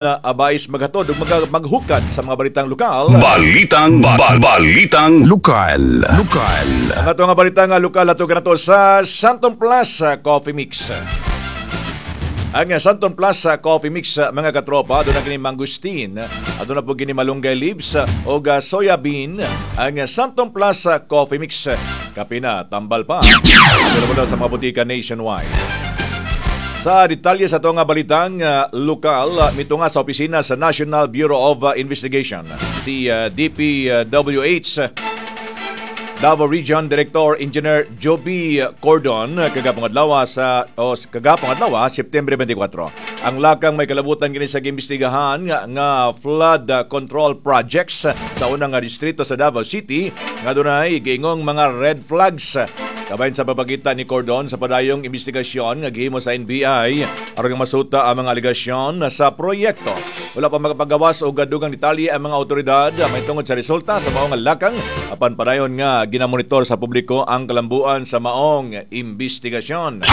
Abais maghatod ug maghukad sa mga balitang lokal. Balitang ba, balitang Lokal. Lokal. Ang ato nga balita nga lokal ato kanato sa Santon Plus Coffee Mix. Ang Santon Plus Coffee Mix, mga katropa, doon na kini mangustin, aduna po kini malunggay leaves o soya bean. Ang Santon Plus Coffee Mix, kape na, tambal pa. Available na sa mga butika nationwide. Sa detalye sa ato nga balitang lokal, mito nga sa opisina sa National Bureau of Investigation, si DPWH Davao Region Director Engineer Joby Cordon kagapong adlaw sa o kagapong adlaw, Setyembre 24. Ang lakang may kalabutan kini sa giimbestigahan nga flood control projects sa unang nga distrito sa Davao City nga dunay giingong mga red flags. Kabahin sa papakita ni Cordon sa padayong investigasyon nga gihimo sa NBI aron nga masuta ang mga alegasyon sa proyekto. Wala pa makapagawas og dugang detalye ang mga otoridad may tungod sa resulta sa maong lakang, apan padayon nga ginamonitor sa publiko ang kalambuan sa maong investigasyon.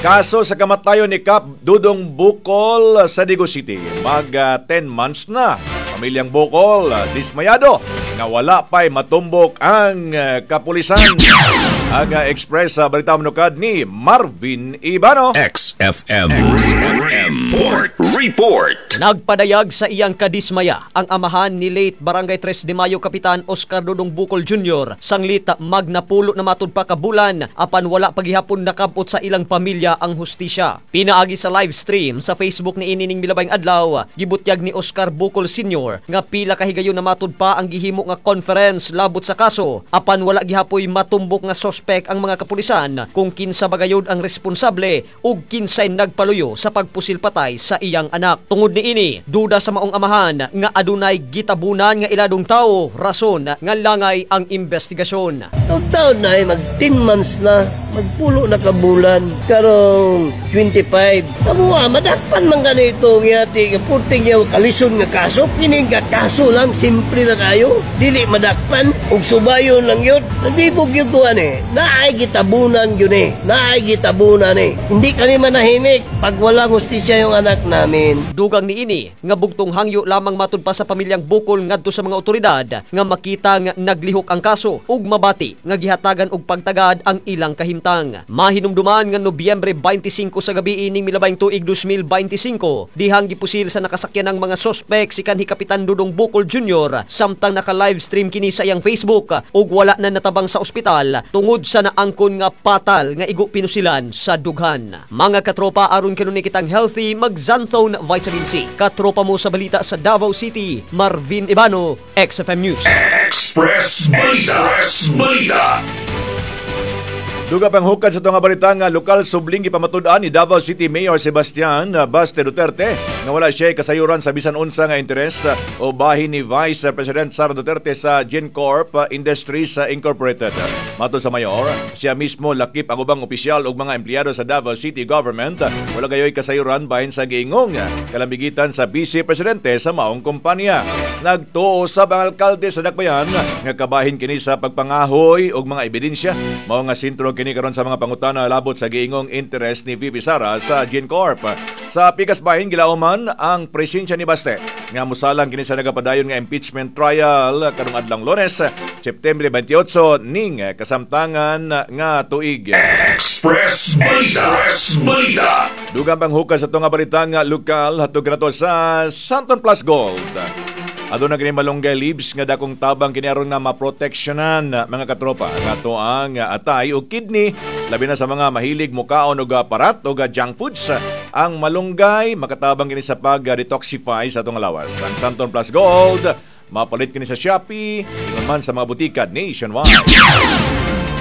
Kaso sa kamatayon ni Kap Dudong Bukol sa Digos City, mag 10 months na. Pamilyang Bukol, dismayado nga wala pa'y matumbok ang kapulisan. Ang Express sa Balita Manukad ni Marvin Ibano. XFM. XFM. Report. Report. Nagpadayag sa iyang kadismaya ang amahan ni late Barangay 3 de Mayo Kapitan Oscar Dudong Bukol Jr. Sanglit magnapulo na matud pa ka bulan apan wala pagihapon nakabot sa ilang pamilya ang hustisya. Pinaagi sa live stream sa Facebook ni inining milabayng adlaw, gibutyag ni Oscar Bukol Sr. nga pila ka higayon na matud pa ang gihimo nga conference labot sa kaso apan wala gihapoy matumbok nga sospek ang mga kapulisan kung kinsa bagayod ang responsable ug kinsay nagpaluyo sa pagpusil patay sa iyang anak. Tungod niini, duda sa maong amahan nga adunay gitabunan nga iladong tao, rason nga langay ang investigasyon. Ug taon na eh, mag 10 months na, magpulo na ka bulan, karong 25. Kamuha, madakpan man ganito ngiyati, nga purting niya kalison nga kaso, kini nga kaso lang, simple na kayo, dili madakpan, ug subayon lang yun. Nandibog yun ko eh, naay gitabunan yun eh, naay gitabunan eh. Hindi kami manahimik pag walang hustisya yung anak namin. Dugang niini nga bugtong hangyo lamang matud pa sa pamilyang Bukol ngadto sa mga otoridad nga makita nga naglihok ang kaso ug mabati nga gihatagan og pagtagad ang ilang kahimtang. Mahinumduman nga Nobyembre 25 sa gabi ining milabayng tuig 2025 dihang gipusil sa nakasakyan ng mga sospek si kanhi Kapitan Dudong Bukol Jr. samtang naka-live stream kini sa iyang Facebook ug wala na natabang sa ospital tungod sa naangkon nga patal nga igo pinusilan sa dughan. Mga katropa, aron kanunay kitang healthy, mag-Xanthone Vitamin C. Katropa mo sa balita sa Davao City, Marvin Ibano, XFM News. Express Balita. Express Balita. Duga pang hukad sa itong balita nga lokal, subling gipamatud-an ni Davao City Mayor Sebastian Baste Duterte nga wala siya kasayuran sa bisan unsa nga interes o bahin ni Vice President Sara Duterte sa GenCorp Industries Incorporated. Matod sa mayor, siya mismo lakip ang ubang opisyal ug mga empleyado sa Davao City Government wala gayoy kasayuran bahin sa giingong kalambigitan sa Vice Presidente sa maong kumpanya. Nagtuo sab ang alkalde sa Dakbayan nga kabahin kini sa pagpangahoy og mga ebidensya, mao nga sentro kini karon sa mga pangutana labot sa giingong interes ni VP Sara sa GenCorp. Sa pikas bahin, gilauman ang presensya ni Baste nga musalang kini sa nagapadayon nga impeachment trial karong adlong Lunes, Setyembre 28 ning kasamtangan nga tuig. Express Balita. Express Balita. Dugang panghukad sa tunga balita nga lokal hatog kanato sa Santon Plus Gold. Aduna kini malunggay leaves nga dakong tabang kini aron nga maproteksyonan, mga katropa, kato ang atay o kidney, labi na sa mga mahilig mukaon og parat o junk foods. Ang malunggay makatabang kini sa pag-detoxify sa atong lawas. Ang Santon Plus Gold mapalit kini sa Shopee, ingon man sa mga butika nationwide.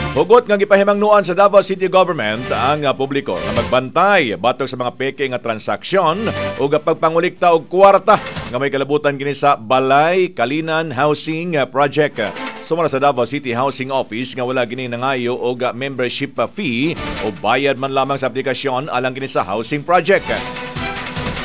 Hugot nga gipahimangnuan sa Davao City Government ang publiko nga magbantay batok sa mga peke nga transaksyon ug pagpangulikta og kwarta nga may kalabutan kini sa Balay Kalinan Housing Project. Sumala sa Davao City Housing Office nga wala gini nangayo og membership fee o bayad man lamang sa aplikasyon alang kini sa housing project.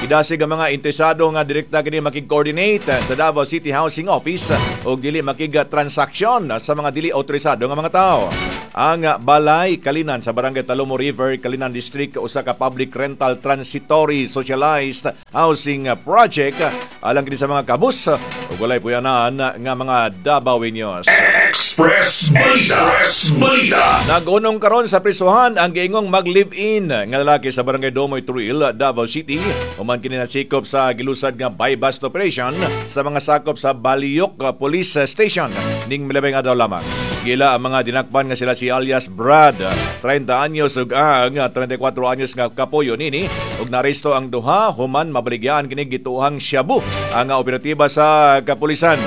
Idasig ang mga interesado nga direkta kini makig-coordinate sa Davao City Housing Office o dili makig-transaksyon sa mga dili autorisado nga mga tao. Ang Balay Kalinan sa Barangay Talomo River, Kalinan District, usa ka public rental transitory socialized housing project alang kini sa mga kabus ug walay puyanan nga mga Dabawenyos. Express Balita. Express Balita. Nagunong karon sa prisuhan ang giingong mag-live-in nga lalaki sa Barangay Domoy Truil, Davao City. Human kini nasikop sa gilusad nga buy-bust operation sa mga sakop sa Baliyok Police Station ning milabing adlaw lamang. Gila ang mga dinakpan nga sila si alias Brad, 30 anyos, ug ang 34 anyos nga kapoyo nini, ug naresto ang duha human mabaligyan kini gituhang shabu ang operatiba sa kapulisan.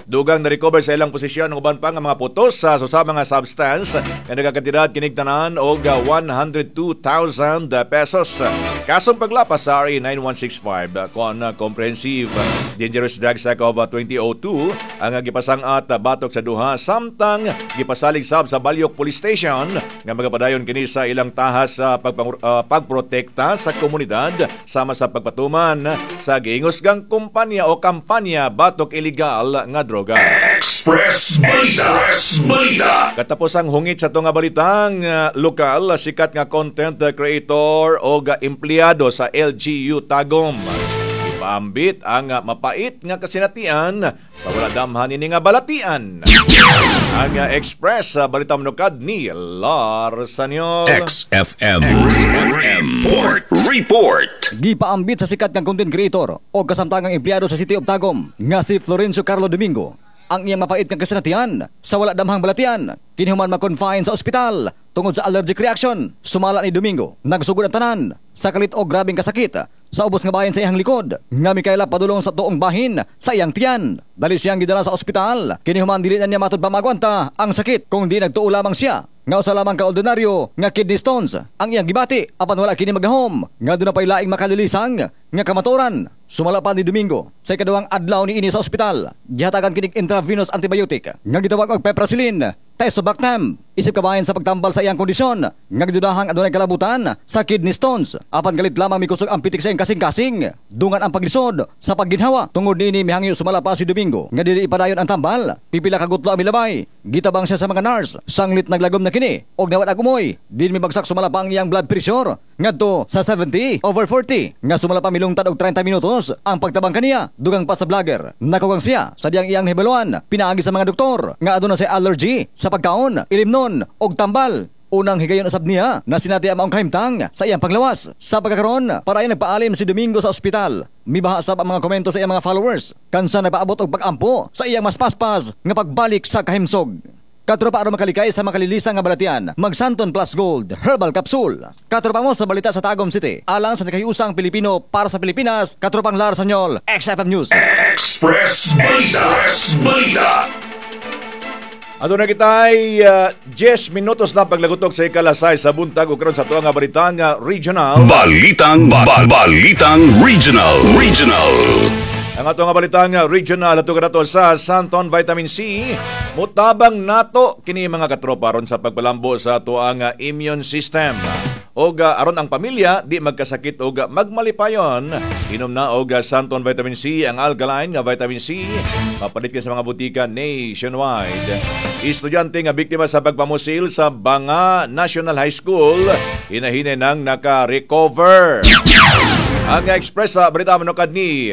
Dugang na-recover sa ilang posisyon ang uban pa nga mga putos sa susama nga substance nga nagakantidad kinig tanan og 102,000 pesos. Kasong paglapas sa RA 9165 kon Comprehensive Dangerous Drugs Act of 2002 ang gipasang-at batok sa duha, samtang gipasalig sab sa Balyok Police Station nga magapadayon kini sa ilang tahas sa pagprotekta sa komunidad sama sa pagpatuman sa giingusgang kumpanya o kampanya batok illegal nga droga. Express Balita. Express Balita. Katapos ang hungit sa tunga balitang lokal, sikat nga content creator o empleyado sa LGU Tagum ipaambit ang mapait nga kasinatian sa wala damhan ini nga balatian. Ang Express Balita Manukad ni Lars Sanyol. XFM. XFM. Report. Report. Gipaambit sa sikat nga content creator o kasamtangang empleyado sa City of Tagum nga si Florencio Carlo Domingo ang iyang mapait nga kasinatian sa wala damhang balatian kini human ma-confine sa ospital tungod sa allergic reaction. Sumala ni Domingo, nagsugod ang tanan sa kalit og grabeng kasakit sa ubos nga bahin sa iyang likod nga mikaila padulong sa tuong bahin sa iyang tiyan. Dali siyang gidala sa ospital kini human dili na niya matud pa maagwanta ang sakit kung di nagtuo lamang siya nga usa lamang ka ordinaryo nga kidney stones ang iyang gibati, apan wala kini magahom nga doon na pa'y laing makalilisang nga kamatuoran. Sumala pa ni Domingo, sa ikaduhang adlaw ni ini sa ospital, gihatagan kinig intravenous antibiotic nga gitawag og piperacillin tazobactam isip kabahin sa pagtambal sa iyang kondisyon nga gidudahang adunay kalabutan sa kidney stones. Apan galit lamang mikusog ang pitik sa iyang kasing-kasing, dungan ang paglisod sa pagginhawa. Tungod niini, mihangyo sumala pa si Domingo nga dili ipadayon ang tambal. Pipila ka gutlo ang milabay, gitabang siya sa mga nurse sanglit naglagom na kini og nawat ag umoy. Din mibagsak sumala pa ang iyang blood pressure ngadto sa 70/40 nga sumala pa milungtad og 30 minutos ang pagtabang kaniya. Dugang pa sa vlogger, nakugang siya sa diyang iyang hibaluan pinaagi sa mga doktor nga aduna siya allergy sa pagkaon, ilimnon og tambal. Unang higayon usab niya na sinati ang maong kahimtang sa iyang panglawas. Sa pagkakaron, para ay nagpaalim si Domingo sa ospital. Mibaha sab ang mga komento sa iyang mga followers kansa nagpaabot og pag-ampo sa iyang mas paspas nga pagbalik sa kahimsog. Katropa, aron makalikay sa makalilisa nga balatian, Magsanton Plus Gold Herbal Capsule. Katropa mo sa balita sa Tagum City. Alang sa nakahiusang Pilipino para sa Pilipinas, Katropang Lar Sanyol, XFM News. Express Balita. Express Balita. Aduna kita'y 10 minutos na paglagutok sa ikalasay sa buntag ug karon sa tuang nga balitang regional. Balitang ba- Balitang Regional. Regional. Ang ato nga balitang regional ato kanato sa Santon Vitamin C. Mutabang nato kini, mga katropa, aron sa pagpalambo sa atoang immune system. Og aron ang pamilya di magkasakit og magmalipayon, inom na og Santon Vitamin C, ang alkaline nga vitamin C. Mapalit ka sa mga butika nationwide. Estudyante nga biktima sa pagpamusil sa Banga National High School hinahinay nang naka-recover. Ang Express sa Balita Manukad ni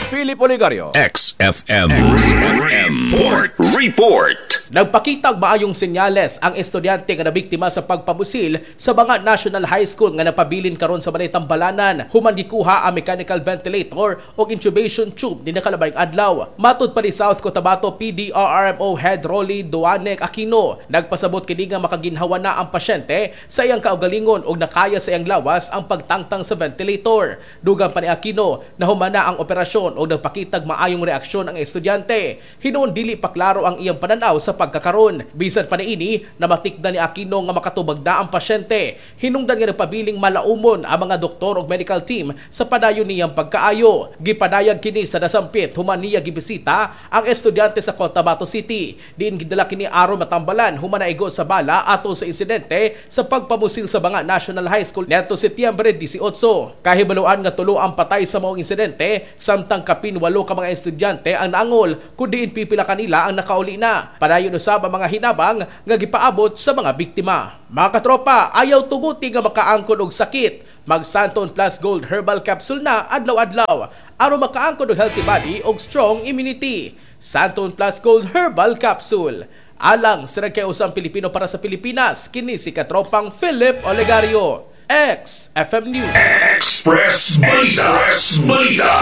Philip Oligario. XFM. XFM. Report. Report. Nagpakita og maayong senyales ang estudyante nga nabiktima sa pagpamusil sa Banga National High School nga napabilin karon sa Balay Tambalanan human gikuha ang mechanical ventilator ug intubation tube ni nakalabay adlaw. Matud pa ni South Cotabato PDRRMO Head Rolly Duanek Aquino, nagpasabot kini nga makaginhawa na ang pasyente sa iyang kaugalingon ug nakaya sa iyang lawas ang pagtangtang sa ventilator. Dugang pa ni Aquino, nahumana ang operasyon ug nagpakitag maayong reaksyon ang estudyante. Hinuon dili pa klaro ang iyang pananaw sa pagkakaron. Bisan pa niini, namatikdan ni Aquino nga makatubag na ang pasyente. Hinungdan nga nagpabiling malaumon ang mga doktor ug medical team sa padayon niyang pagkaayo. Gipadayag kini sa nasampit human niya gibisita ang estudyante sa Cotabato City. Diin gidala kini aron matambalan human naigo sa bala atol sa insidente sa pagpamusil sa Banga National High School niadto Setyembre 18. Kahibaluan nga tulo ang patay sa maong insidente samtang kapin 8 ka mga estudyante ang naangol kun diin pipila kanila ang nakauli na. Padayon usab ang mga hinabang nga gipaabot sa mga biktima. Mga katropa, ayaw tuguti nga makaangkon og sakit. Mag Santon Plus Gold Herbal Capsule na adlaw-adlaw aron makaangkon og healthy body og strong immunity. Santon Plus Gold Herbal Capsule. Alang sa nagkausang Pilipino para sa Pilipinas, kini si katropang Philip Olegario. XFM News. Express Balita. Express Balita.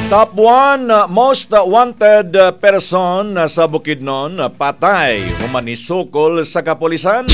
Top 1 most wanted person sa Bukidnon patay human nisukol sa kapulisan.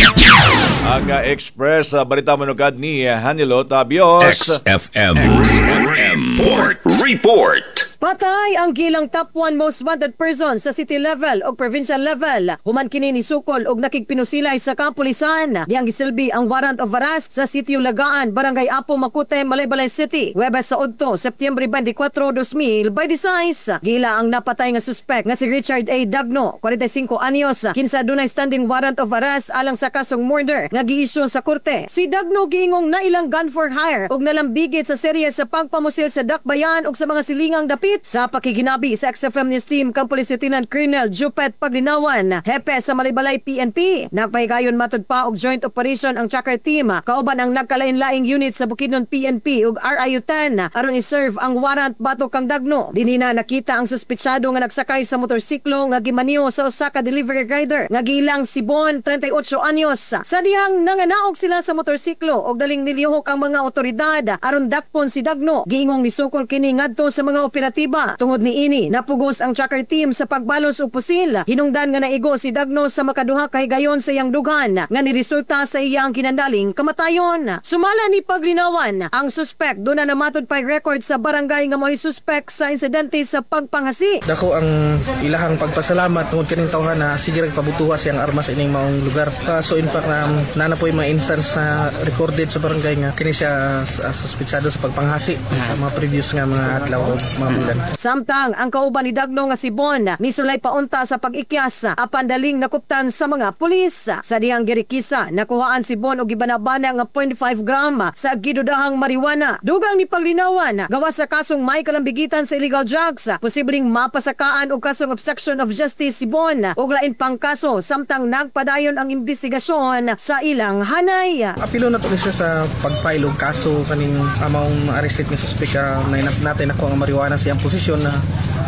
Ang Express Balita manukad ni Hanilo Tabios. XFM. XFM. Report. Report. Patay ang gilang top 1 most wanted person sa city level o provincial level. Human kini ni sukol og nakigpinusilay sa kapulisan. Diyang gisilbi ang warrant of arrest sa sitio Lagaan, Barangay Apo Makute, Malaybalay City. Huwebes sa udto, Setyembre 24, 2026. Gila ang napatay nga suspect nga si Richard A. Dagno, 45 anyos, kinsa dunay standing warrant of arrest alang sa kasong murder nga giisyu sa korte. Si Dagno giingong nailang gun for hire ug nalambigit sa serye sa pagpamusil sa Dakbayan ug sa mga silingang dapit. Sa pakiginabi sa XFM News Team kang Police Lieutenant Colonel Jupet Paglinawan, hepe sa Malaybalay PNP. Nagpahigayon matud pa og joint operation ang tracker team kauban ang nagkalain-laing unit sa Bukidnon PNP ug RIU 10 aron i-serve ang warrant batok kang Dagno. Dinhi na nakita ang suspetsado nga nagsakay sa motorsiklo nga gimaniho sa usa ka delivery rider nga giilang si Bon, 38 anyos. Sa dihang nanganaog sila sa motorsiklo og daling nilihok ang mga otoridad aron dakpon si Dagno. Giingong nisukol kini ngadto sa mga operatiba. Tungod niini, napugos ang tracker team sa pagbalos og pusil. Hinungdan nga naigo si Dagno sa makaduha kahigayon sa iyang dughan nga niresulta sa iyang kinandaling kamatayon. Sumala ni Paglinawan, ang suspect duna na matud pay record sa barangay nga mo'y suspect sa insidente sa pagpanghasi. Dako ang ilahang pagpasalamat tungod kaning tawhan na sige rag pabutuha siyang armas ining maong lugar. So in fact na nana po yung mga instance na recorded sa barangay nga kini siya suspetsado sa pagpanghasi sa mga previous nga mga adlaw o mga bulan. Samtang ang kauban ni Dagno nga si Bon misulay paunta sa pag-ikyas apan daling nakuptan sa mga pulis. Sa dihang girikisa, nakuhaan si Bon og gibanabana nga 0.5 gram sa gidudahang marijuana. Dugang ni Paglinawan, gawas sa kasong may kalambigitan sa illegal drugs, posibleng mapasakaan og kasong obstruction of justice si Bon ug lain pang kaso samtang nagpadayon ang investigasyon sa ilang hanay. Apilo na to ni siya sa pag-file og kaso kaning among arrested nga suspect na natin ako ang marijuana sa iyang posisyon na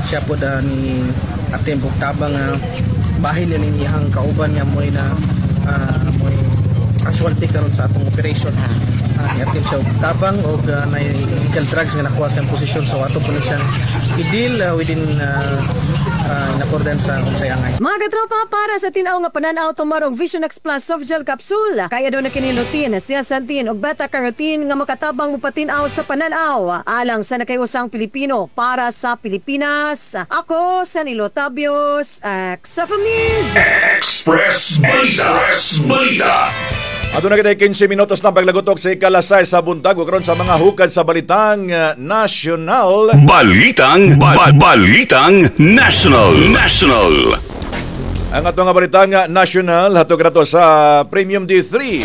siya po da ni attempt og tabang nga bahin niya ning iyang kauban nga mo'y na mo'y casualty karon sa atong operation. Ni-attempt siya og tabang og na illegal drugs nga nakuha sa iyang posisyon, so ato po ni siyang i-deal within in accordance sa unsay angay. Mga katropa, para sa tinaw nga pananaw, tumarong Vision X Plus Soft Gel Capsule. Kaya daw na kini lutein, zeaxanthin ug beta-carotene nga makatabang mupatinaw sa pananaw. Alang sa nakayusang Pilipino para sa Pilipinas. Ako, Sanilo Tabios, XFM News. Express Balita. Express Balita. Aduna kita 15 minutos na paglagutok sa ikalasay sa buntag ug karon sa mga hukad sa balitang nasyonal. Balitang National. National. Ang atong nga balitang national hatog rato sa Premium D3.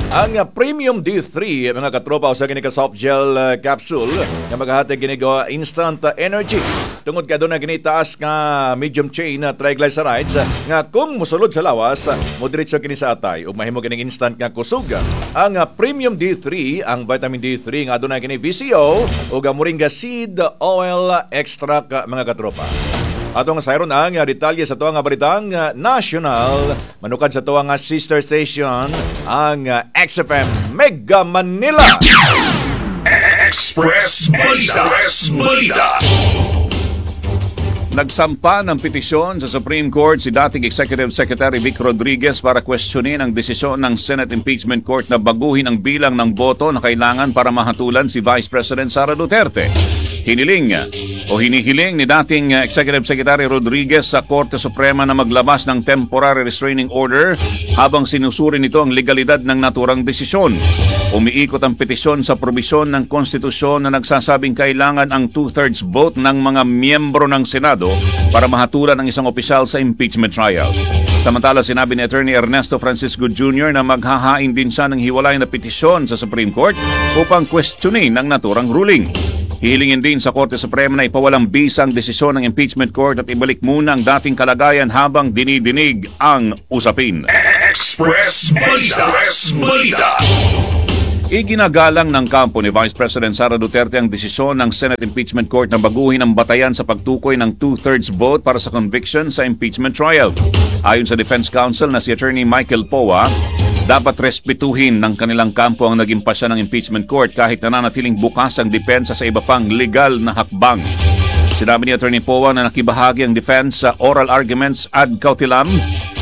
Ang Premium D3, mga katropa, usa kini ka soft gel capsule nga magahatag kini og instant energy. Tungod kay aduna kini taas nga medium chain triglycerides nga kung mosulod sa lawas, modiretso kini sa atay ug mahimo kining instant nga kusog. Ang Premium D3, ang vitamin D3 nga aduna kini VCO ug ang moringa seed oil extract, mga katropa. Atong sayron ang detalye sa tuang balitang national manukad sa tuang sister station, ang XFM Mega Manila. Express Balita. Express Balita. Nagsampa ng petisyon sa Supreme Court si dating Executive Secretary Vic Rodriguez para kwestiyonin ang desisyon ng Senate Impeachment Court na baguhin ang bilang ng boto na kailangan para mahatulan si Vice President Sara Duterte. Hiniling o hinihiling ni dating Executive Secretary Rodriguez sa Korte Suprema na maglabas ng temporary restraining order habang sinusuri nito ang legalidad ng naturang desisyon. Umiikot ang petisyon sa probisyon ng konstitusyon na nagsasabing kailangan ang two-thirds vote ng mga miyembro ng Senado para mahatulan ang isang opisyal sa impeachment trial. Samantala, sinabi ni Attorney Ernesto Francisco Jr. na maghahain din siya ng hiwalay na petisyon sa Supreme Court upang questionin ang naturang ruling. Hihilingin din sa Korte Suprema na ipawalang bisa ang desisyon ng impeachment court at ibalik muna ang dating kalagayan habang dinidinig ang usapin. Express Balita. Express Balita. Iginagalang ng kampo ni Vice President Sara Duterte ang desisyon ng Senate Impeachment Court na baguhin ang batayan sa pagtukoy ng two-thirds vote para sa conviction sa impeachment trial. Ayon sa Defense Counsel na si Attorney Michael Poa, dapat respetuhin ng kanilang kampo ang naging pasya ng impeachment court kahit nananatiling bukas ang depensa sa iba pang legal na hakbang. Sinabi ni Attorney Poa na nakibahagi ang defense sa oral arguments ad cautelam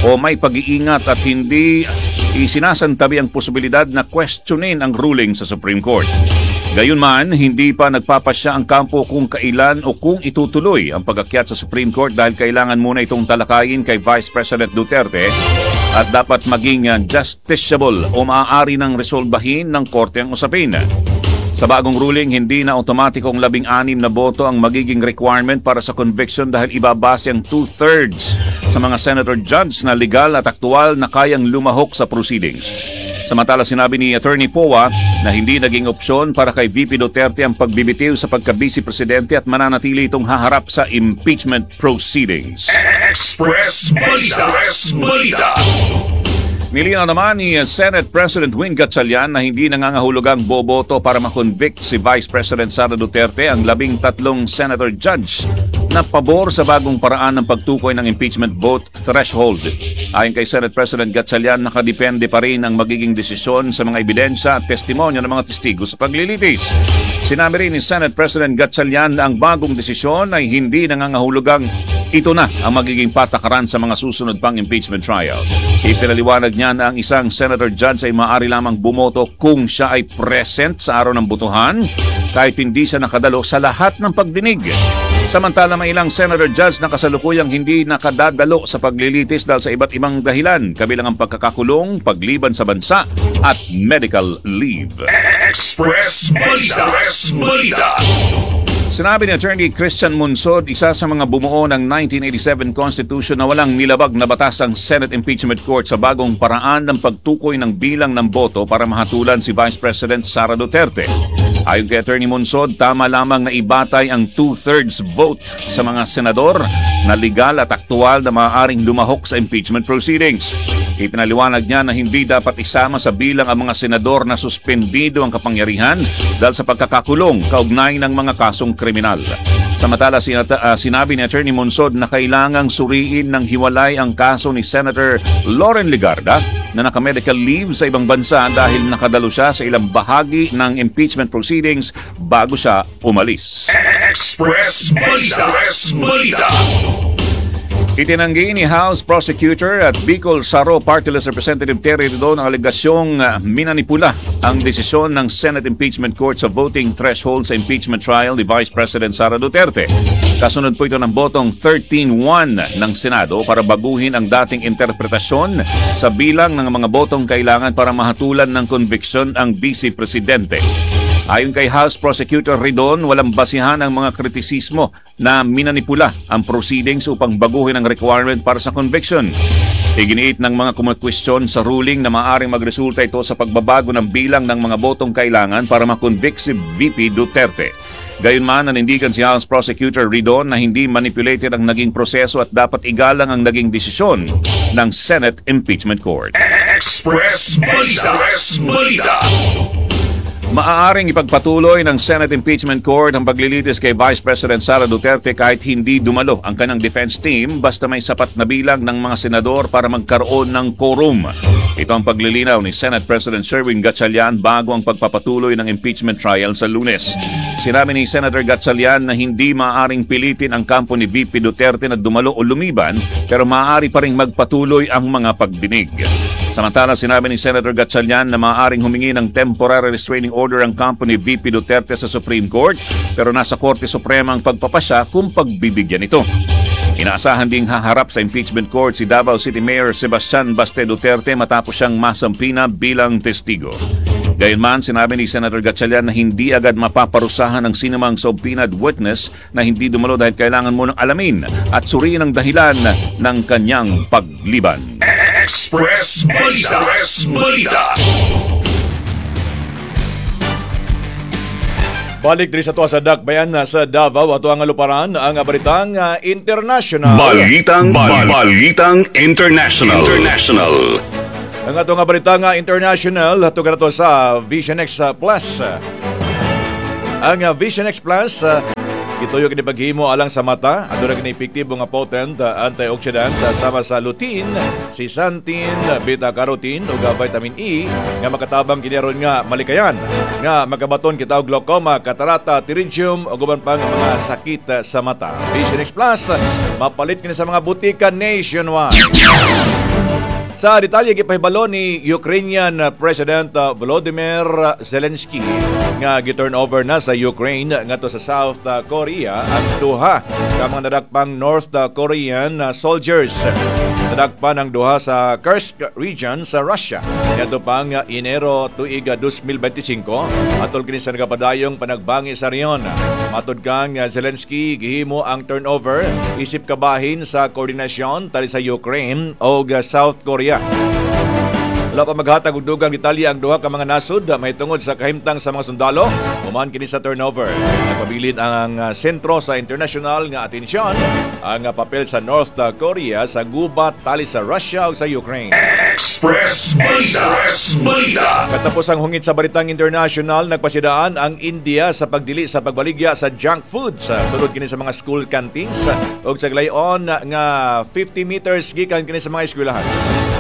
o may pag-iingat at hindi isinasantabi ang posibilidad na questionin ang ruling sa Supreme Court. Gayunman, hindi pa nagpapasya ang kampo kung kailan o kung itutuloy ang pag-akyat sa Supreme Court dahil kailangan muna itong talakayin kay Vice President Duterte at dapat maging justiciable o maaari ng resolbahin ng korte ang usapin. Sa bagong ruling, hindi na automatikong 16 na boto ang magiging requirement para sa conviction dahil ibabase ang two-thirds sa mga senator judge na legal at aktual na kayang lumahok sa proceedings. Samantala, sinabi ni Attorney Poa na hindi naging opsyon para kay VP Duterte ang pagbibitiw sa pagka-vice presidente at mananatili itong haharap sa impeachment proceedings. Express Balita. Express Balita. Nilinaw naman ni Senate President Win Gatchalian na hindi nangangahulugang boboto para makonvict si Vice President Sara Duterte ang 13 senator judge na pabor sa bagong paraan ng pagtukoy ng impeachment vote threshold. Ayon kay Senate President Gatchalian, nakadepende pa rin ang magiging desisyon sa mga ebidensya at testimonya ng mga testigo sa paglilitis. Sinabi rin ni Senate President Gatchalian na ang bagong desisyon ay hindi nangangahulugang ito na ang magiging patakaran sa mga susunod pang impeachment trial. Ipinaliwanag niya na ang isang senator judge ay maaari lamang bumoto kung siya ay present sa araw ng botohan kahit hindi siya nakadalo sa lahat ng pagdinig. Samantala, may ilang senator judge na kasalukuyang hindi nakadadalo sa paglilitis dahil sa iba't ibang dahilan, kabilang ang pagkakakulong, pagliban sa bansa at medical leave. Express Balita. Express Balita. Sinabi ni Attorney Christian Monsod, isa sa mga bumuo ng 1987 Constitution, na walang nilabag na batas ang Senate Impeachment Court sa bagong paraan ng pagtukoy ng bilang ng boto para mahatulan si Vice President Sara Duterte. Ayon kay Attorney Monsod, tama lamang na ibatay ang two-thirds vote sa mga senador na legal at aktual na maaaring lumahok sa impeachment proceedings. Ipinaliwanag niya na hindi dapat isama sa bilang ang mga senador na suspendido ang kapangyarihan dahil sa pagkakakulong kaugnay ng mga kasong kriminal. Samantala, sinabi ni Attorney Monsod na kailangang suriin ng hiwalay ang kaso ni Senator Loren Legarda na naka-medical leave sa ibang bansa dahil nakadalo siya sa ilang bahagi ng impeachment proceedings bago siya umalis. Express Balita. Express Balita. Itinanggi ni House Prosecutor at Bicol Saro Party List Representative Terry Ridon ang alegasyong minanipula ang desisyon ng Senate Impeachment Court sa voting threshold sa impeachment trial ni Vice President Sara Duterte. Kasunod po ito ng botong 13-1 ng Senado para baguhin ang dating interpretasyon sa bilang ng mga botong kailangan para mahatulan ng conviction ang Vice Presidente. Ayon kay House Prosecutor Ridon, walang basihan ang mga kritisismo na minanipula ang proceedings upang baguhin ang requirement para sa conviction. Iginiit ng mga kumakwestiyon sa ruling na maaaring magresulta ito sa pagbabago ng bilang ng mga botong kailangan para makonvict si VP Duterte. Gayunman, nanindigan si House Prosecutor Ridon na hindi manipulated ang naging proseso at dapat igalang ang naging desisyon ng Senate Impeachment Court. Express Balita. Express Balita. Maaaring ipagpatuloy ng Senate Impeachment Court ang paglilitis kay Vice President Sara Duterte kahit hindi dumalo ang kanyang defense team basta may sapat na bilang ng mga senador para magkaroon ng quorum. Ito ang paglilinaw ni Senate President Sherwin Gatchalian bago ang pagpapatuloy ng impeachment trial sa Lunes. Sinabi ni Senator Gatchalian na hindi maaaring pilitin ang kampo ni VP Duterte na dumalo o lumiban, pero maaari pa ring magpatuloy ang mga pagdinig. Samantala, sinabi ni Senator Gatchalian na maaaring humingi ng temporary restraining order ang kampo ni VP Duterte sa Supreme Court, pero nasa Korte Suprema ang pagpapasya kung pagbibigyan ito. Inaasahan ding haharap sa impeachment court si Davao City Mayor Sebastian Baste Duterte matapos siyang masampina bilang testigo. Gayunman, sinabi ni Senator Gatchalian na hindi agad mapaparusahan ang sinumang subpoenaed witness na hindi dumalo dahil kailangan munang alamin at suriin ang dahilan ng kanyang pagliban. Express Balita. Express Balita. Balik diri sa tuwa sa Dakbayan sa Davao ato ang aluparan ang balitang international. Balitang Balitang International. International. Ang ato nga balita nga international ato kanato sa Vision X Plus. Ang Vision X Plus gituyo kini paghimo alang sa mata, aduna kini epektibo nga potent antioxidant sama sa lutein, zeaxanthin, beta carotene ug vitamin E nga makatabang kini aron nga malikayan nga makabaton kita og glaucoma, katarata, pterygium ug uban pang mga sakit sa mata. Vision X Plus mapalit kini sa mga butika nationwide. Sa detalye, gipahibalo ni Ukrainian President Volodymyr Zelensky nga gi-turn over na sa Ukraine ngadto sa South Korea ang duha ka mga nadakpang North Korean soldiers. Nadakpan ang duha sa Kursk region sa Russia ngadto pang Enero tuig 2025 atol kini sa nagapadayong panagbangi sa rehiyon. Matod kang Zelensky, gihimo ang turnover isip kabahin sa koordinasyon tali sa Ukraine o South Korea. Wala pa maghatag og dugang detalye ang duha ka mga nasod mahitungod sa kahimtang sa mga sundalo human kini sa turnover. Nagpabilin ang sentro sa international nga atensyon ang papel sa North Korea sa gubat tali sa Russia ug sa Ukraine. Express Balita. Express Balita. Katapos ang hungit sa balitang international, nagpasidaan ang India sa pagdili sa pagbaligya sa junk foods. Sulod kini sa mga school canteens ug sa glayon nga 50 meters gikan kini sa mga eskwelahan.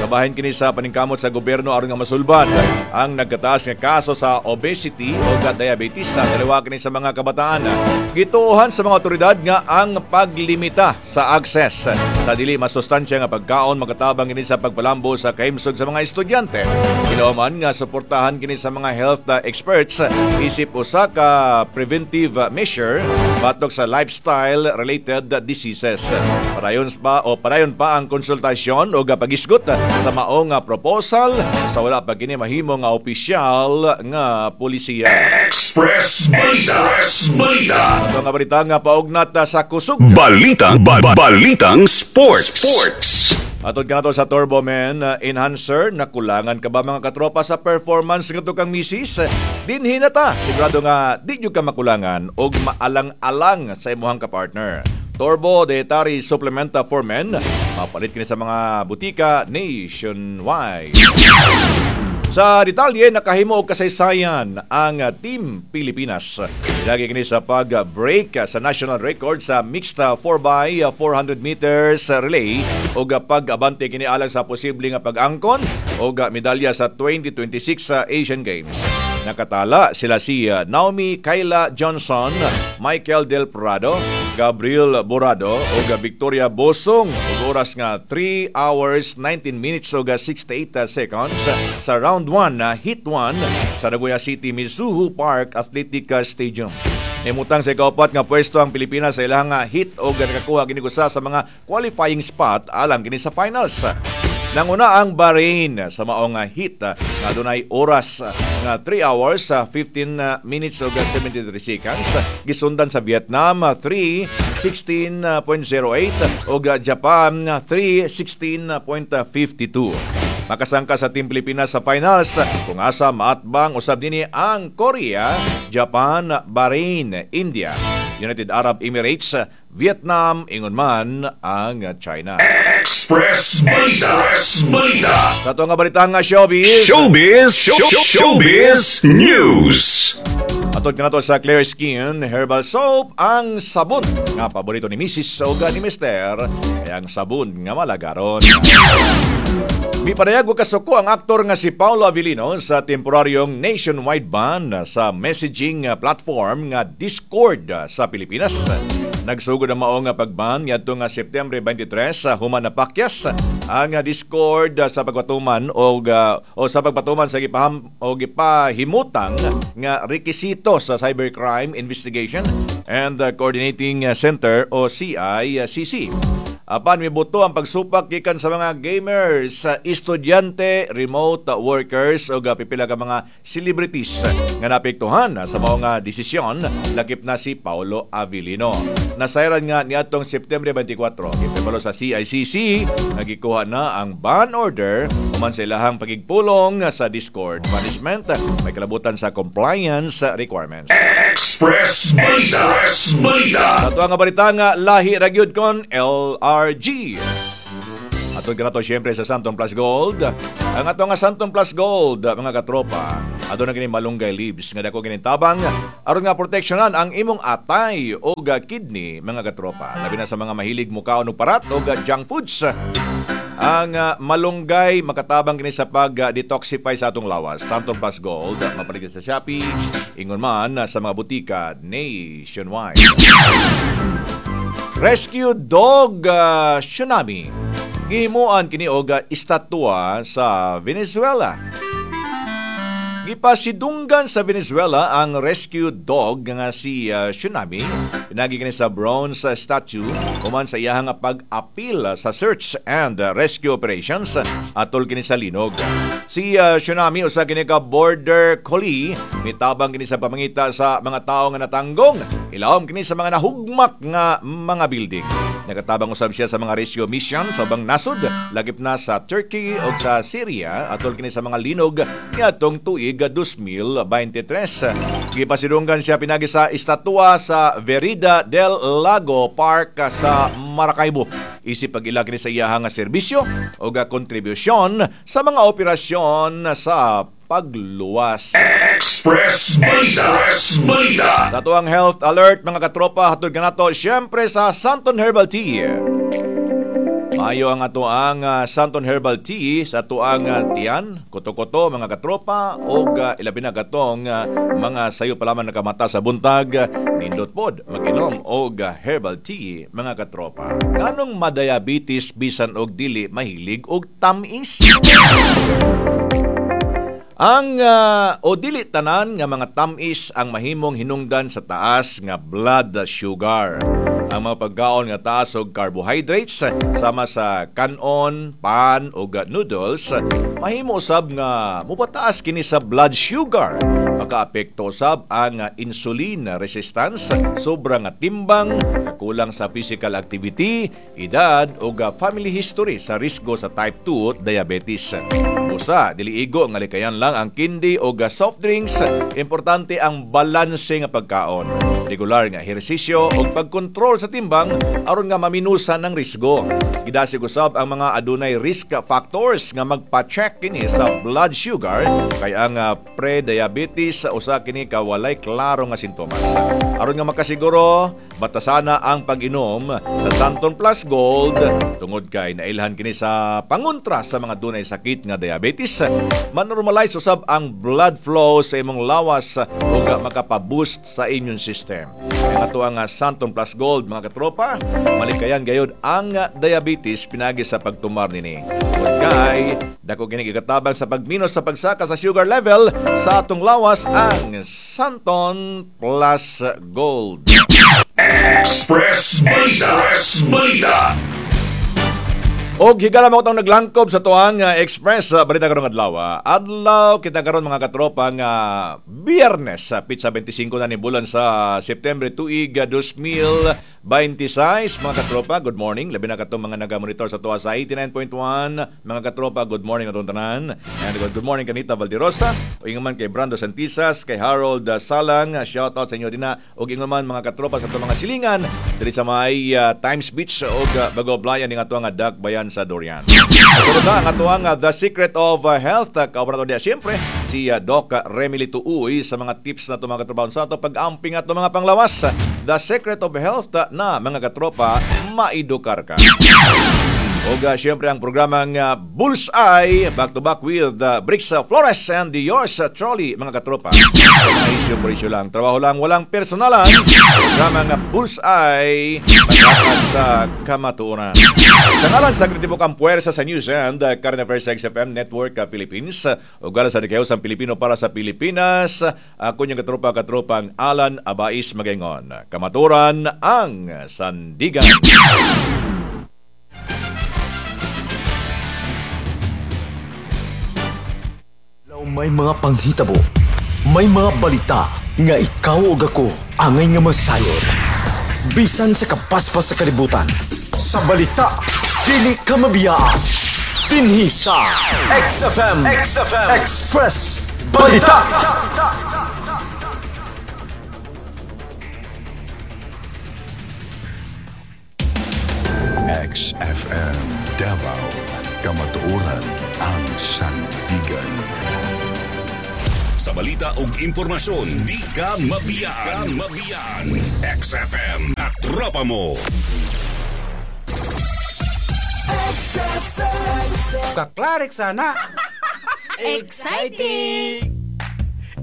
Kabahin kini sa paningkamot sa gobyerno aron nga masulbad ang nagkataas nga kaso sa obesity o diabetes sa taliwa kini sa mga kabataan. Gituohan sa mga otoridad nga ang paglimita sa access sa dili masustansya nga pagkaon makatabang kini sa pagpalambo sa kahimsog sa mga estudyante. Kilauman nga suportahan kini sa mga health experts isip usa ka preventive measure batok sa lifestyle related diseases. Padayon pa ang konsultasyon o pagisgot sa maong proposal sa wala pa kini mahimo nga opisyal nga polisiya. Express Balita. Express Balita. Ato nga balita nga paugnat sa kusog. Balitang Balitang Sports. Sports. Atod ka na to sa Turbo Man Enhancer, nakulangan ka ba, mga katropa, sa performance nga kang misis? Dinhi na ta, sigurado nga di nyo ka makulangan og maalang-alang sa imuhang kapartner. Turbo Dietary Supplement for Men, mapalit kini sa mga butika nationwide. Sa detalye, nakahimo og kasaysayan ang Team Pilipinas. Lagi kini sa pag-break sa national record sa mixed 4x400 meters relay ug pag-abante kini alang sa posible nga pag-angkon og medalya sa 2026 sa Asian Games. Nakatala sila si Naomi Kyla Johnson, Michael Del Prado, Gabriel Borado ug Victoria Bosong ug oras nga 3 hours 19 minutes ug 68 seconds sa round 1 heat 1 sa Nagoya City Mizuho Park Athletic Stadium. Nimutang sa ikaupat nga pwesto ang Pilipinas sa ilang heat og nakakuha kini usa sa mga qualifying spot alang kini sa finals. Nanguna ang Bahrain sa maong heat nga dunay oras nga 3 hours 15 minutes ug 73 seconds. Gisundan sa Vietnam, 3:16.08, ug Japan, 3:16.52. Makasangka sa Team Pilipinas sa finals kung asa maatbang usab dinhi ang Korea, Japan, Bahrain, India, United Arab Emirates, Vietnam, ingon man ang China. Express Balita. Express Balita. Sa ato nga balita nga showbiz. Showbiz. Showbiz News. Atod kanato sa Clear Skin Herbal Soap, ang sabon nga paborito ni Mrs. o ni Mr. Ay ang sabon nga malagaron. Mipadayag og kasuko ang aktor nga si Paulo Avelino sa temporaryong nationwide ban sa messaging platform nga Discord sa Pilipinas. Nagsugod ang maong pagban ngadto nga Setyembre 23 sa human napakyas ang Discord sa pagpatuman og o sa pagpatuman sa gipaham o gipahimutang nga rekisito sa Cybercrime Investigation and Coordinating Center o CICC. Apan mibuto ang pagsupak gikan sa mga gamers, sa estudyante, remote workers ug pipila ka mga celebrities nga naapektuhan sa mao nga desisyon, lakip na si Paulo Avelino. Nasayran nga niadtong Setyembre 24, gipahibalo sa CICC nga gikuha na ang ban order human Human sa ilahang pagigpulong sa Discord management, may kalabutan sa compliance requirements. Express Balita. Express Balita. Sa ato nga balita nga lahi ra gyud kon LRG. Atong kanato siyempre sa Santon Plus Gold. Ang ato nga Santon Plus Gold, mga katropa, aduna kini malunggay leaves nga dako kini tabang aron nga proteksyonan ang imong atay o kidney, mga katropa. Labi na sa mga mahilig mukaon og parat o junk foods. Ang malunggay makatabang kini sa pag-detoxify sa atong lawas. Santon Plus Gold, mapaligid sa Shopee, ingon man sa mga butika nationwide. Rescue dog Tsunami. Gihimuan kini og estatwa sa Venezuela. Gipasidunggan sa Venezuela ang rescue dog nga si Tsunami. Pinagi kini sa bronze statue human sa iyahang pag-apil sa search and rescue operations atol kini sa linog. Si Tsunami usa kini ka border collie, mitabang kini sa pamangita sa mga tawo nga natanggong. Ilawom kini sa mga nahugmak nga mga building. Nagatabang usab siya sa mga rescue mission sa ubang nasod, lagip na sa Turkey o sa Syria atol kini sa mga linog niadtong tuig 2023. Gipasidunggan siya pinagi sa estatwa sa Verida del Lago Park sa Maracaibo. Isip pag-ila kini sa iyahang serbisyo o kontribusyon sa mga operasyon sa pagluwas. Express Balita. Express Balita. Sa tuang health alert mga katropa, hatod kanato siyempre sa Santon Herbal Tea. Maayo ang ato ang Santon Herbal Tea sa tuang tiyan, kuto-kuto mga katropa og ilabi na katong mga sayo pa lamang nakamata sa buntag, nindot pod mag-inom og herbal tea mga katropa. Nganong madiabetes bisan og dili mahilig og tamis? Ang o dili tanan nga mga tamis ang mahimong hinungdan sa taas nga blood sugar. Ang mga pagkaon nga taas og carbohydrates sama sa kanon, pan ug noodles mahimo usab nga mopataas kini sa blood sugar. Makaapekto usab ang insulin resistance, sobra nga timbang, kulang sa physical activity, edad ug family history sa risgo sa type 2 diabetes. Usa, dili igo nga likayan lang ang candy o soft drinks, importante ang balanse nga pagkaon. Regular nga ehersisyo ug pagkontrol sa timbang aron nga maminusan ang risgo. Gidasig usab ang mga adunay risk factors nga magpa-check kini sa blood sugar kay ang pre-diabetes usa kini ka walay klaro nga sintomas. Aron nga makasiguro, batasana ang pag-inom sa Santon Plus Gold tungod kay nailhan kini sa pangontra sa mga dunay sakit nga diabetes. Manormalize usab ang blood flow sa imong lawas ug makapa-boost sa immune system. Ang ato ang Santon Plus Gold mga katropa, malikayan gayod ang diabetes pinagi sa pagtumar nini. Tungod kay dako kini gikatabang sa pagminos sa pagsaka sa sugar level sa atong lawas ang Santon Plus Gold. Express Balita. Express Balita. Og higala mo itong naglangkob sa tuang Express Balita karong adlaw. Adlaw kita karon mga katropa nga Biyernes sa pitsa 25 na ni bulan sa September tuig 2026 mga katropa. Good morning. Labi na katong mga naga-monitor sa tuwa sa 89.1 mga katropa. Good morning atong tanan. And good morning kanita Valderosa. O ingon man kay Brando Santisas, kay Harold Salang. Shout out sa inyo dinha. Og ingon man mga katropa sa atong mga silingan diri sa may Times Beach og Bago Blayan ning ato nga Dakbayan sa Dorian. Sunod na ang atuang The Secret of Health. Kaobra to diya siyempre si Doc Remily Tuuy sa mga tips na ito mga katropa sa ato pag-amping ato mga panglawas. The Secret of Health na mga katropa, maidukar ka. Og siyempre ang programang Bullseye, back to back with Brix Flores and the yours trolley mga katropa. Mga issue por issue lang, trabaho lang, walang personalan. Programang Bullseye, magkakad sa kamatuoran. Sa ngalan sa Kritibok ang puwersa sa News and Current Affairs XFM Network Philippines. Ug galang sa Dikayos ang Pilipino para sa Pilipinas. Ako niyong katropa-katropang Alan Abais Magaingon. Kamatuoran ang sandigan. May mga panghitabo, may mga balita nga ikaw ug ako angay nga masayon. Bisan sa kapaspas sa kalibutan, sa balita, dili ka mabiyaan. Dinhi sa XFM, XFM Express Balita. XFM Davao, Kamatuoran ang sandigan. Sa balita ug impormasyon, di ka mabiyaan. Mabiyaan. XFM at tropa mo. Kaklarik sana. Exciting!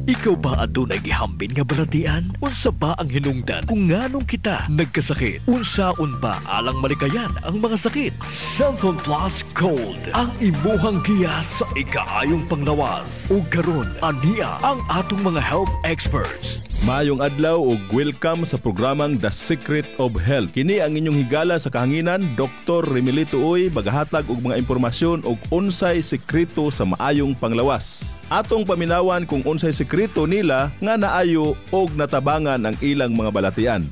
Ikaw ba adunay gihambin nga balatian? Unsa ba ang hinungdan kung nganong kita nagkasakit? Unsaon ba alang malikayan ang mga sakit? Xanthone Plus Gold ang imuhang giya sa ikaayong panglawas. Ug karon ania ang atong mga health experts. Maayong adlaw ug welcome sa programang The Secret of Health. Kini ang inyong higala sa kahanginan, Dr. Remilito Uy, magahatag og mga impormasyon og unsay sekreto sa maayong panglawas. Atong paminawan kung unsay sekreto nila nga naayo og natabangan ang ilang mga balatian.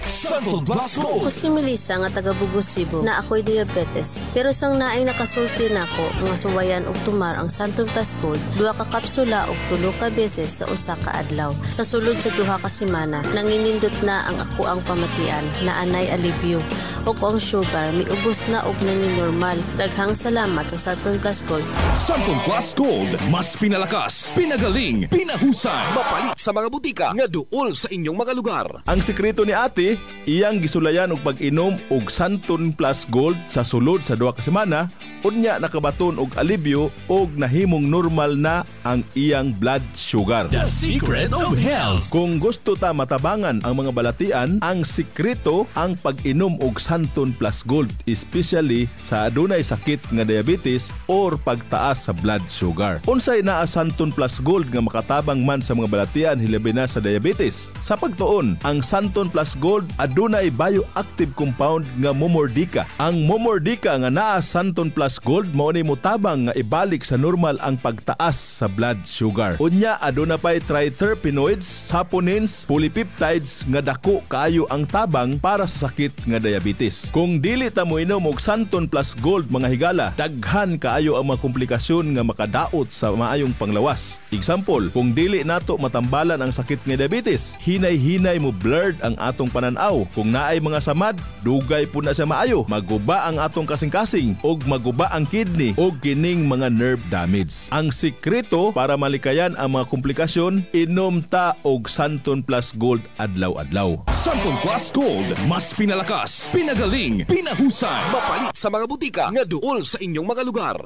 Xanthone Plus Ako Gold. si Melissa nga taga Bugos, Cebu, na ako'y diabetes. Pero sang naay nakasulti nako nga suwayan og tumar ang Xanthone Plus Gold, duha ka kapsula og tulo ka beses sa usa ka adlaw. Sa sulod sa 2 ka semana, nanginindot na ang ako ang pamatian na anay alibyo. Ug ang sugar miubos na og nangin normal. Daghang salamat sa Xanthone Plus Gold. Xanthone Plus Gold, mas pinalakas, pinagaling, pinahusay. Mapalit sa mga butika nga duol sa inyong mga lugar. Ang sekreto ni ate, iyang gisulayan og pag-inom og Xanthone Plus Gold sa sulod sa 2 ka semana, unya nakabaton og alibyo og nahimong normal na ang iyang blood sugar. The Secret of Health. Kung gusto ta matabangan ang mga balatian, ang sekreto ang pag-inom og Xanthone Plus Gold, especially sa adunay sakit nga diabetes or pagtaas sa blood sugar. Unsay naa Xanthone Plus Gold nga makatabang man sa mga balatian hilabi na sa diabetes? Sa pagtuon, ang Xanthone Plus Gold adunay bioactive compound nga Momordica. Ang Momordica nga naa Xanthone Plus Gold mao ni motabang nga ibalik sa normal ang pagtaas sa blood sugar. Unya aduna pay triterpenoids, saponins, polypeptides nga dako kaayo ang tabang para sa sakit nga diabetes. Kung dili ta moinom og Xanthone Plus Gold, mga higala, daghan kaayo ang mga komplikasyon nga makadaot sa maayong panglawas. Example, kung dili nato matambalan ang sakit nga diabetes, hinay-hinay mo blurred ang atong pananaw. Kung naay mga samad, dugay po na siya maayo. Maguba ang atong kasing-kasing og maguba ang kidney og kining mga nerve damage. Ang sikreto para malikayan ang mga komplikasyon, inom ta og Xanthone Plus Gold adlaw-adlaw. Xanthone Plus Gold, mas pinalakas, pinagaling, pinahusay. Mapalit sa mga butika nga duol sa inyong mga lugar.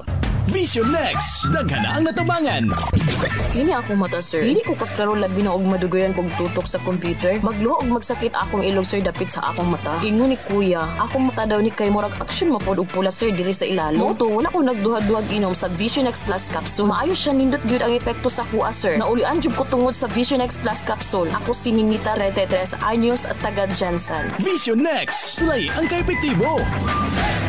Vision Next, daghan na ang natabangan. Kini akong mata, sir. Dili ko kaklaro labi na og madugayan kog tutok sa computer. Magluha og magsakit akong ilong, sir, dapit sa akong mata. Ingon ni kuya, akong mata daw ni kay murag action mapod og pula, sir, diri sa ilalom. Mao to wala ko nagduha-duhag inom sa Vision X Plus capsule. Maayo siya, nindot gyud ang epekto sa kuha, sir. Naulian jud ko tungod sa Vision X Plus capsule. Ako si Ninita, 33 anyos at taga Jensen. Vision Next, sulay ang kaepektibo.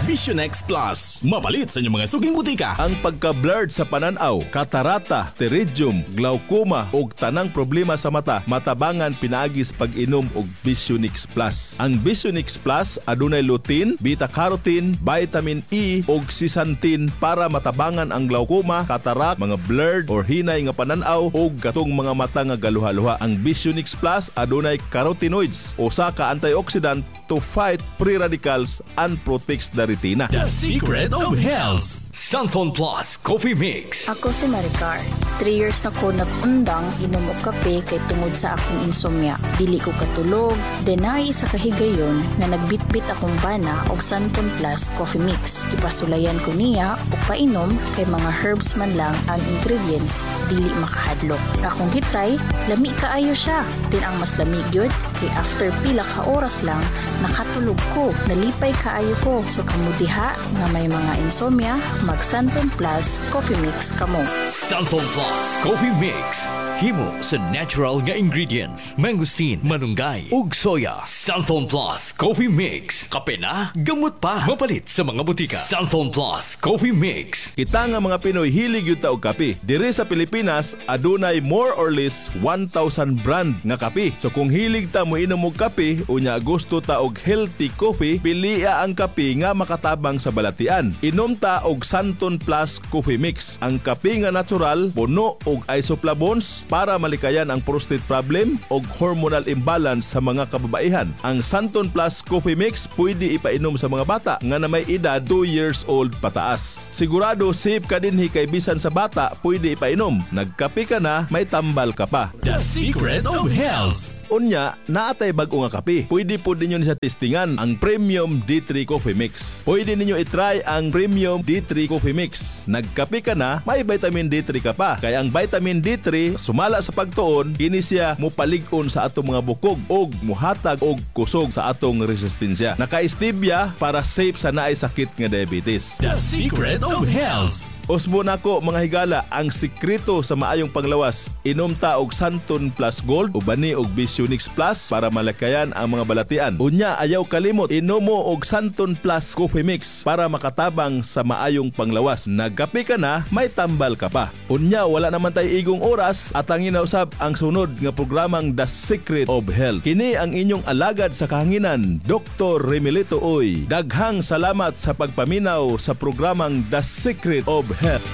Vision X Plus, mapalit sa inyong mga suking butika. Ang pagka-blurred sa pananaw, katarata, pterygium, glaucoma ug tanang problema sa mata matabangan pinaagi sa pag-inom og Visionix Plus. Ang Visionix Plus adunay lutein, beta-carotene, vitamin E ug zeaxanthin para matabangan ang glaucoma, cataract, mga blurred or hinay nga pananaw ug katong mga mata nga galuha-luha. Ang Visionix Plus adunay carotenoids, usa ka antioxidant to fight free radicals and protects the retina. The Secret of Health. Xanthone Plus Coffee Mix. Ako si Maricar. 3 years na ko nag-undang inom og kape kay tungod sa akong insomnia. Dili ko katulog. Then naay isa ka higayon nga nagbitbit akong bana og Xanthone Plus Coffee Mix. Ipasulayan ko niya og painom kay mga herbs man lang ang ingredients, dili makahadlok. Akong gitry, lami kaayo siya. Then ang mas lami gyud kay after pila ka oras lang nakatulog ko. Nalipay kaayo ko. So kamo diha nga may mga insomnia, mag Xanthone Plus Coffee Mix kamo. Xanthone Plus Coffee Mix. Himo sa natural nga ingredients, mangosteen, malunggay, ug soya. Xanthone Plus Coffee Mix. Kape na, gamot pa. Mapalit sa mga butika. Xanthone Plus Coffee Mix. Kita nga mga Pinoy, hilig gyud ta og kape. Diri sa Pilipinas, adunay more or less 1,000 brand nga kape. So kung hilig ta mo inom og kape, unya gusto ta og healthy coffee, pilia ang kape nga makatabang sa balatian. Inom ta og Santon Plus Coffee Mix. Ang kape nga natural, puno og isoflavones para malikayan ang prostate problem og hormonal imbalance sa mga kababaihan. Ang Santon Plus Coffee Mix pwede ipainom sa mga bata nga na may edad 2 years old pataas. Sigurado safe ka dinhi kay bisan sa bata pwede ipainom. Nagkape ka na, may tambal ka pa. The Secret of Health. Unya, naatay bag-o nga kape. Pwede po ninyo sa testingan ang Premium D3 Coffee Mix. Pwede ninyo itry ang Premium D3 Coffee Mix. Nagkape ka na, may vitamin D3 ka pa. Kaya ang vitamin D3, sumala sa pagtuon, kini siya mupalig-on sa atong mga bukog og muhatag og kusog sa atong resistensya. Naka-stevia para safe sa naay sakit nga diabetes. The Secret of Health. Usbo nako mga higala, ang sikreto sa maayong panglawas, inom ta og Santon Plus Gold ubani og Visionix Plus para malakayan ang mga balatian. Unya ayaw kalimot, inom mo og Santon Plus Coffee Mix para makatabang sa maayong panglawas. Nagkape ka na, may tambal ka pa. Unya wala naman tay igong oras at ang ginausab ang sunod nga programang The Secret of Health. Kini ang inyong alagad sa kahanginan, Dr. Remilito Uy. Daghang salamat sa pagpaminaw sa programang The Secret of Health.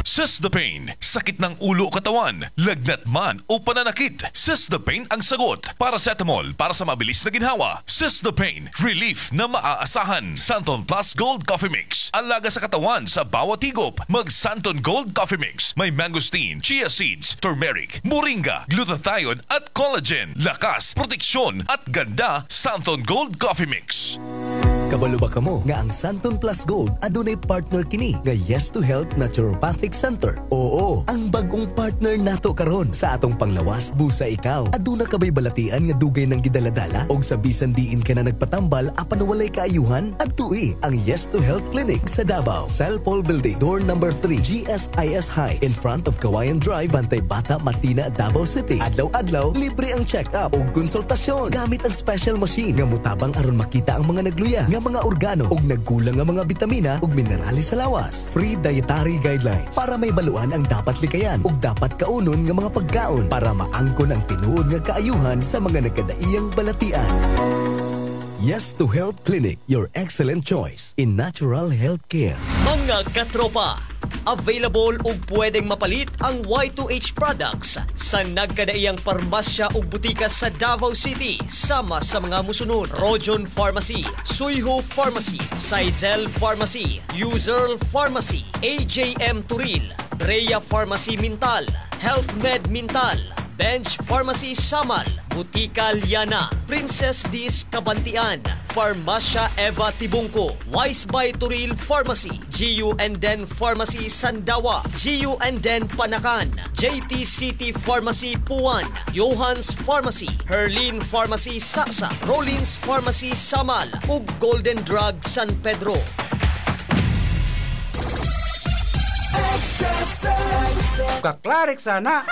Sis the Pain, sakit ng ulo o katawan, lagnat man o pananakit. Sis the Pain ang sagot. Paracetamol para sa mabilis na ginhawa. Sis the Pain, relief na maaasahan. Santon Plus Gold Coffee Mix, alaga sa katawan sa bawat higop. Mag Santon Gold Coffee Mix, may mangosteen, chia seeds, turmeric, moringa, glutathione at collagen. Lakas, proteksyon at ganda, Santon Gold Coffee Mix. Kabalo ba kamo nga ang Santon Plus Gold adunay partner kini nga Yes to Health Naturopathic Center? Oo, ang bagong partner nato karon sa atong panglawas. Busa ikaw, aduna ka bay balatian nga dugay nang gidaladala og sa bisan diin ka na nagpatambal apan walay kaayuhan? Adtui ang Yes to Health Clinic sa Davao, Cellpol Building, door number 3, GSIS High, in front of Kawayan Drive, Bantay Bata, Matina, Davao City. Adlaw-adlaw, libre ang check-up ug konsultasyon gamit ang special machine nga mutabang aron makita ang mga nagluya nga mga organo ug nagkulang nga mga bitamina ug minerales sa lawas. Free dietary guidelines para may baluan ang dapat likayan ug dapat kaunon nga mga pagkaon para maangkon ang tinuod nga kaayuhan sa mga nagkadaiyang balatian. Yes to Health Clinic, your excellent choice in natural health care. Mga katropa, available ug pwedeng mapalit ang Y2H products sa nagkadaiyang parmasya ug butika sa Davao City sama sa mga musunod: Rojon Pharmacy, Suyho Pharmacy, Saizel Pharmacy, Userl Pharmacy, AJM Turil, Brea Pharmacy Mintal, Health Med Mintal, Bench Pharmacy Samal, Butika Liana, Princess Dis Kabantian, Farmasya Eva Tibungko, Wise by Turil Pharmacy, GU and Den Pharmacy Sandawa, GU and Den Panacan, JT City Pharmacy Puan, Johans Pharmacy, Herlin Pharmacy Saksa, Rollins Pharmacy Samal, ug Golden Drug San Pedro. Kaklarik sana.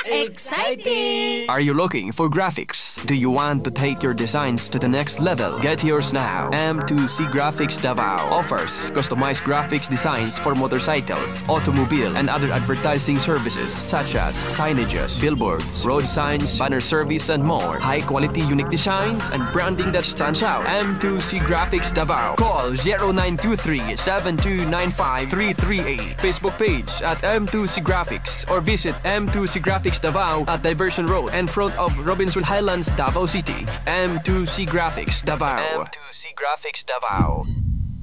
Exciting! Are you looking for graphics? Do you want to take your designs to the next level? Get yours now. M2C Graphics Davao offers customized graphics designs for motorcycles, automobile, and other advertising services such as signages, billboards, road signs, banner service, and more. High quality, unique designs and branding that stands out. M2C Graphics Davao. Call 0923-7295-338. Facebook page at M2C Graphics or visit M2C Graphics Davao at Diversion Road in front of Robinson Highlands, Davao City. M2C Graphics Davao. M2C Graphics Davao.